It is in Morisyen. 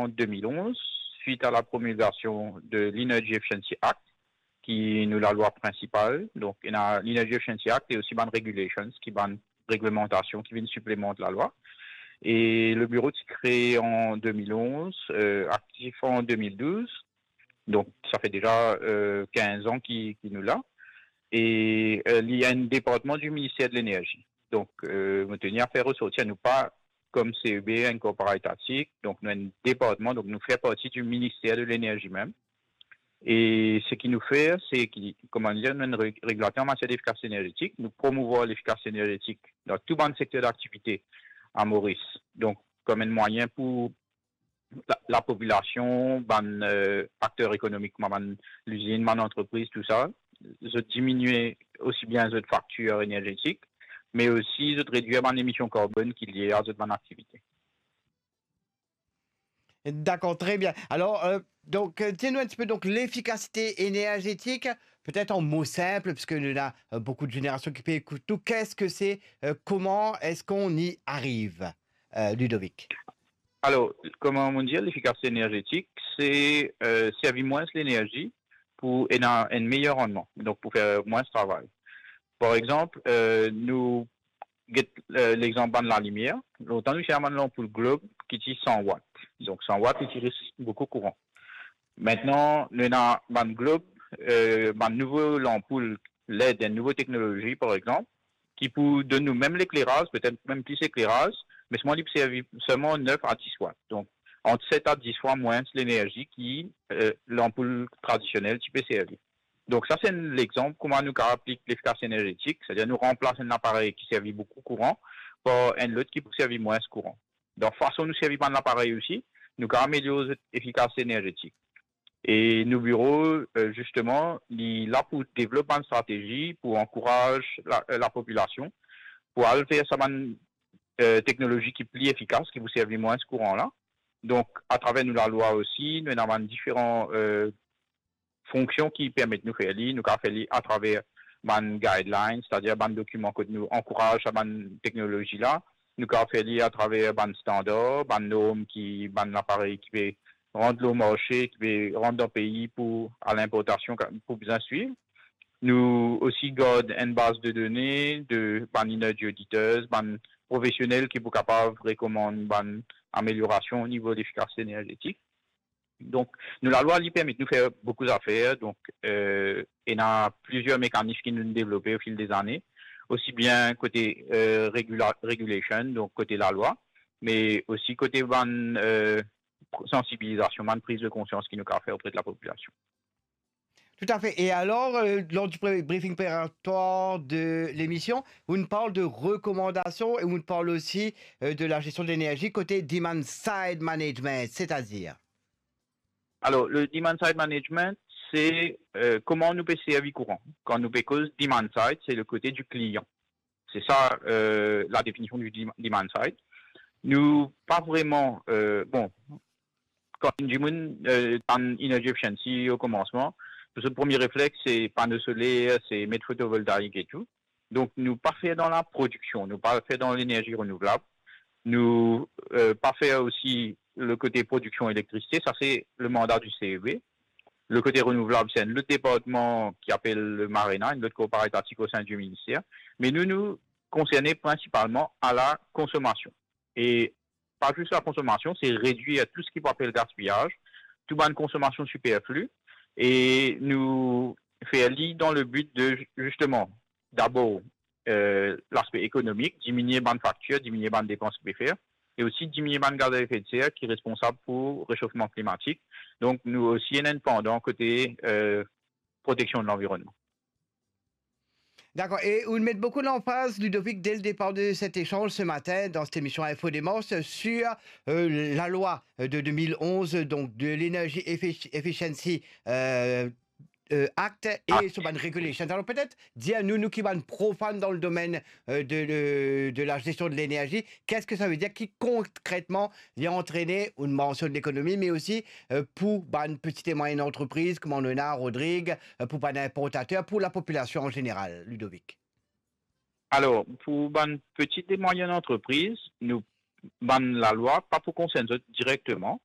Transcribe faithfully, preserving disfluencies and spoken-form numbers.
an de mil onz, swit a la promilgasion de l'Energy Efficiency Act, ki nou lalwa prinsipal. Donk, ena l'Energy Efficiency Act e osi bann regulations, ki bann reglemantasion ki vinn siplemant lalwa. E le biro ti kree an de mil onz, eh, aktif an de mil douz. Donk, sa fer deza, eh, kinz an ki, ki nou la. E, eh, li enn departman di Minister de Lenerzi. Donk, eh, mo teni a fer resorti, nou pa kom C E B, enn korpora etatik, donk nou enn departman, donk nou fer parti di Minister de Lenerzi mem. E seki nou fer, se ki, kouma nou dir, nou enn re-, regilater an matier d'efikasite enerzetik, nou promouvwar lefikasite enerzetik dan tou bann sekter daktivite a Moris. Donk, kom enn mwayin pou la, lapopilasion, bann, eh, akter ekonomik, kouma bann lizinn, bann antrepriz, tou sa, zot diminie osi bien zot faktir enerzetik, me osi zot redwir bann emision karbonn ki lie a zot bann aktivite. Dakor, tre bien. Alor, eh, donk, eh, dir nou enn tipe, donk, lefikasite enerzetik, petet an mo sinp, piske nou ena, eh, boukou de zenerasion ki pe ekout nou. Qu'est-ce que c'est, eh, comment est-ce qu'on y arrive, eh, Ludovic? Alor, kouma mo dir, lefikasite enerzetik, se, eh, servi mwins lenerzi pou ena enn meyer randman, donk pou fer mwins travay. Par exanp, eh, nou get, eh, lexanp bann lalimier. Lontan nou ti ena bann lanpoul Globe ki ti san wat. Donk san wat, li ti ris boukou kouran. Aster, nou ena bann Globe, eh, bann nouvo lanpoul led, enn nouvo teknolozi, par exanp, ki pou donn nou mem lekleraz, petet mem plis lekleraz, me selman li pou servi selman nef a dis wat. Donk, ant set a dis fwa mwins lenerzi ki, eh, lanpoul tradisionel ti pe servi. Donk, sa se enn lexanp kouma nou kapav aplik lefikasite enerzetik, setadir nou ranplas enn laparey ki servi boukou kouran par enn lot ki pou servi mwins kouran. Dan fason nou servi bann laparey osi, nou kapav amelior zot efikasite enerzetik. E nou biro, eh, zisteman, li la pou devlop bann stratezi pou ankouraz la, eh, lapopilasion pou al ver sa bann, eh, teknolozi ki pli efikas, ki pou servi mwins kouran la. Donk, atraver nou lalwa osi, nou ena bann diferan, eh, fonksion ki permet nou fer li. Nou kapav fer li atraver bann guidelines, setadir bann dokiman kot nou ankouraz sa bann teknolozi la. Nou kapav fer li atraver bann standar, bann norm ki bann laparey ki pe rant lor marse, ki pe rant dan pei pou, a linportasion, ka-, pou bizin swiv. Nou osi gard enn baz de done de bann energy auditors, bann profesionel ki pou kapav rekomann bann ameliorasion o nivo lefikasite enerzetik. Donk, nou lalwa, li permet nou fer boukou zafer. Donk, eh, ena plizier mekanism ki nou devlope o fil dezane, osi bien kote, eh, regula-, regulation, donk kote lalwa, me osi kote bann, eh, sansibilizasion, bann priz de konsians ki nou kapav fer opre de lapopilasion. Toutafe. E alor, eh, lor di pre-, briefing preparatoire de lemision, ou parl de rekomandasion e ou parl osi, eh, de la gestion de l'énergie côté demand side management, c'est-à-dire? Alor, le demand side management, se, eh, kouma nou pe servi kouran. Kan nou pe koz demand side, se le kote di klian. Se sa, eh, la definision di dem-, demand side. Nou pa vreman, eh, bon, kan enn dimoun, eh, tann energy efficiency o komansman, zot premie reflex, se pano soler, se met fotovoltaik e tou. Donk, nou pa fer dan laprodiksion, nou pa fer dan lenerzi renouvlab, nou, eh, pa fer osi le kote prodiksion elektrisite, sa se le manda di C E B. Le kote renouvlab, se enn lot departman ki apel le MARENA, enn lot korpora etatik o sein di minister. Me nou, nou konserne prinsipalman a la konsomasion. E pa zis la konsomasion, se redwir tou seki pou apel gaspiyaz, tou bann konsomasion siperfli, e nou fer li dan le bi de, zisteman, dabor, eh, laspe ekonomik, diminie bann faktir, diminie bann depans ki pe fer, e osi diminie bann gaz a efe de ser ki responsab pou resofman klimatik. Donk, nou osi ena enn pandan kote, eh, proteksion de lanvironnman. D'accord. Et on met beaucoup l'emphase, Ludovic, dès le départ de cet échange ce matin, dans cette émission Info Démarche, sur, euh, la loi, euh, de deux mille onze, donc de l'Energy Effic-, Efficiency, euh, euh, Act et Act. Urban Regulations. Alors peut-être, dir nou, nou ki bann profan dan le domaine, euh, de, de, de la gestion de l'énergie, qu'est-ce que ça veut dire, ki konkretman li antrene, ou mansionn lekonomi, me osi, euh, pou bann petit e mwayinn antrepriz, kouma nou ena Rodrig, euh, pou bann inportater, pou lapopilasion an zeneral, Ludovic? Alor, pou bann petit e mwayinn antrepriz, nou, bann lalwa pa pou konsern zot direkteman,